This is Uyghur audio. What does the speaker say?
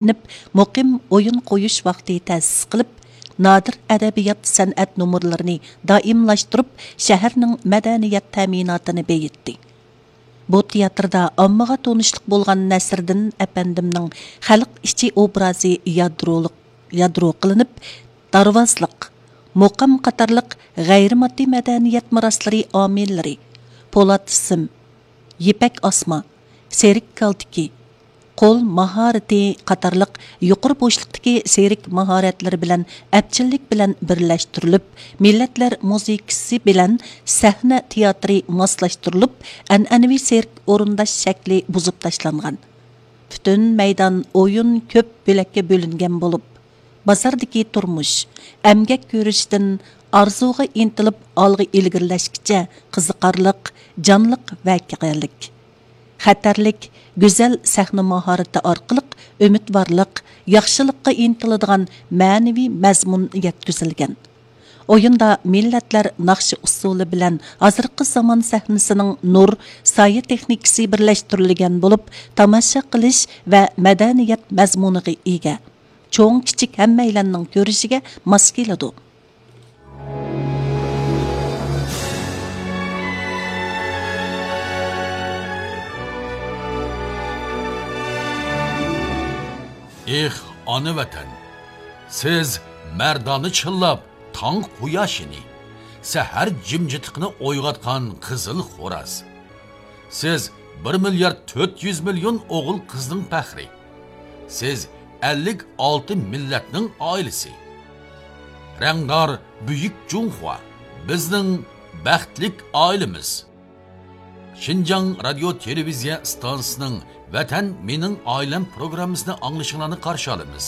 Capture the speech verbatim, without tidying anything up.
ئېلىنىپ، مۇقىم ئويۇن قويۇش ۋاقتى تەسىس قىلىپ، نادىر ئەدەبىيات، سەنئەت نومۇرلىرىنى دائىملاشتۇرۇپ، شەھەرنىڭ مەدەنىيەت تەمىناتىنى بېيىتتى. بۇ تىياتىردا ئاممىغا تونۇشلۇق بولغان نەسىردىن ئەپەندىمنىڭ خەلق ئىچى ئوبرازى يادرولۇق، يادرو قىلىنىپ، دارۋازلىق، مۇقام قاتارلىق غەيرىي ماددىي مەدەنىيەت مىراسلىرى ئامىللىرى، پولات سىم، يىپەك ئاسما، سېرىك كالتىكى، قول ماھارىتى قاتارلىق يۇقىرى بوشلۇقتىكى سېرىك ماھارەتلىرى بىلەن ئەپچىللىك بىلەن بىرلەشتۈرۈلۈپ، مىللەتلەر مۇزىكىسى بىلەن سەھنە تىياتىرى ماسلاشتۇرۇلۇپ، ئەنئەنىۋى سېرك ئورۇنداش شەكلى بۇزۇپ تاشلانغان. پۈتۈن مەيدان ئويۇن كۆپ بۆلەككە بۆلۈنگەن بولۇپ، بازاردىكى تۇرمۇش، ئەمگەك كۆرۈشتىن ئارزۇغا ئىنتىلىپ ئالغا ئىلگىرىلەشكىچە قىزىقارلىق، جانلىق ۋەقەلىك. خەتەرلىك، گۈزەل سەھنە ماھارىتى ئارقىلىق ئۈمىدۋارلىق، ياخشىلىققا ئىنتىلىدىغان مەنىۋى مەزمۇن يەتكۈزۈلگەن. ئويۇندا مىللەتلەر ناخشا ئۇسسۇلى بىلەن ھازىرقى زامان سەھنىسىنىڭ نۇر، سايە تېخنىكىسى بىرلەشتۈرۈلگەن بولۇپ، تاماشا قىلىش ۋە مەدەنىيەت مەزمۇنىغا ئىگە. چوڭ، كىچىك ھەممەيلەننىڭ كۆرۈشىگە ماس كېلىدۇ. ئېھ، ئانا ۋەتەن! سىز مەردانە چىللاپ تاڭ قۇياشىنى، سەھەر جىمجىتلىقىنى ئويغاتقان قىزىل خوراز. سىز بىر مىليارد تۆت يۈز مىليون ئوغۇل قىزنىڭ پەخرى. سىز ئەللىك ئالتە مىللەتنىڭ ئائىلىسى. رەڭدار بۈيۈك جۇڭخۇا، بىزنىڭ بەختلىك ئائىلىمىز. شىنجاڭ رادىيو تېلېۋىزىيە ئىستانسىسىنىڭ ۋەتەن مېنىڭ ئائىلەم پروگراممىسىنى ئاڭلىشىڭلارنى قارشى ئالىمىز.